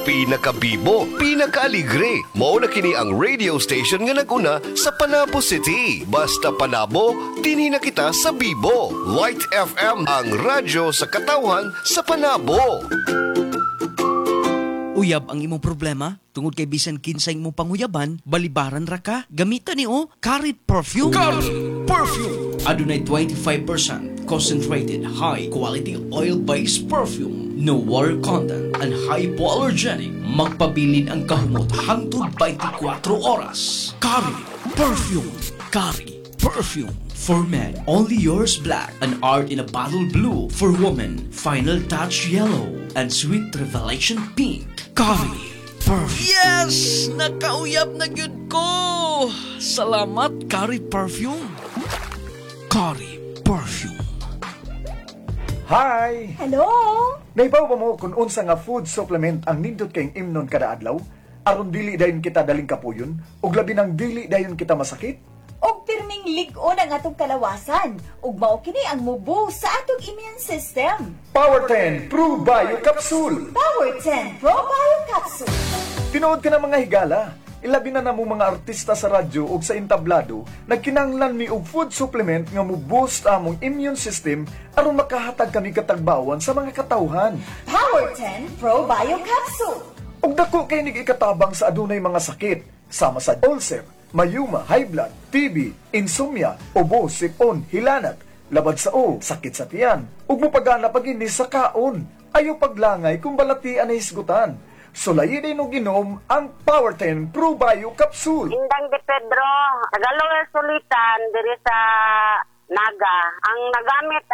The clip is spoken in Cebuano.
Pinakabibo, pinakaaligre. Mao na kini ang radio station nga naguna sa Panabo City. Basta Panabo, dinhi na kita sa bibo. Light FM, ang radyo sa katawhan sa Panabo. Uyab ang imong problema? Tungod kay bisan kinsa imong panguyaban, balibaran ra ka. Gamita ni o Curry Perfume. Curry Perfume. Adunay 25% concentrated high quality oil-based perfume. No water content and hypoallergenic. Magpabilin ang kahumot hangtod 24 oras. Curry Perfume. Curry Perfume. For men, Only Yours Black and Art in a Bottle Blue. For women, Final Touch Yellow and Sweet Revelation Pink. Curry Perfume. Yes! Nakauyab na gyud ko! Salamat, Curry Perfume. Curry Perfume. Hi! Hello? Naibaw ba mo kung unsa nga food supplement ang nindot kayong imnon kada adlaw? Aron dili dayon kita daling kapuyon ug labi nang dili dayon kita masakit? Og pirming lig-on ang atong kalawasan ug mao kini ang mubo sa atong immune system. Power 10 Pro Bio Capsule. Power 10 Pro Bio Capsule. Tinuod ka na, mga higala. Ilabi na namo mga artista sa radyo ug sa entablado, nagkinahanglan mi og food supplement nga mo boost among immune system aron makahatag kami katagbawan sa mga katawhan. Power 10 Pro Bio Capsule. Ug dako kay nig ikatabang sa adunay mga sakit sama sa ulcer, mayuma, high blood, TB, insomnia, ubo, sipon, hilanat, labad sa o, sakit sa tiyan, ug mopagana pa gini sa kaon. Ayo paglangay kung balatian na hisgutan. Sulayi din og ginom ang Power 10 Pro Bio Capsule. Indang de Pedro, Tagalog Sulitan, diri sa Naga. Ang nagamit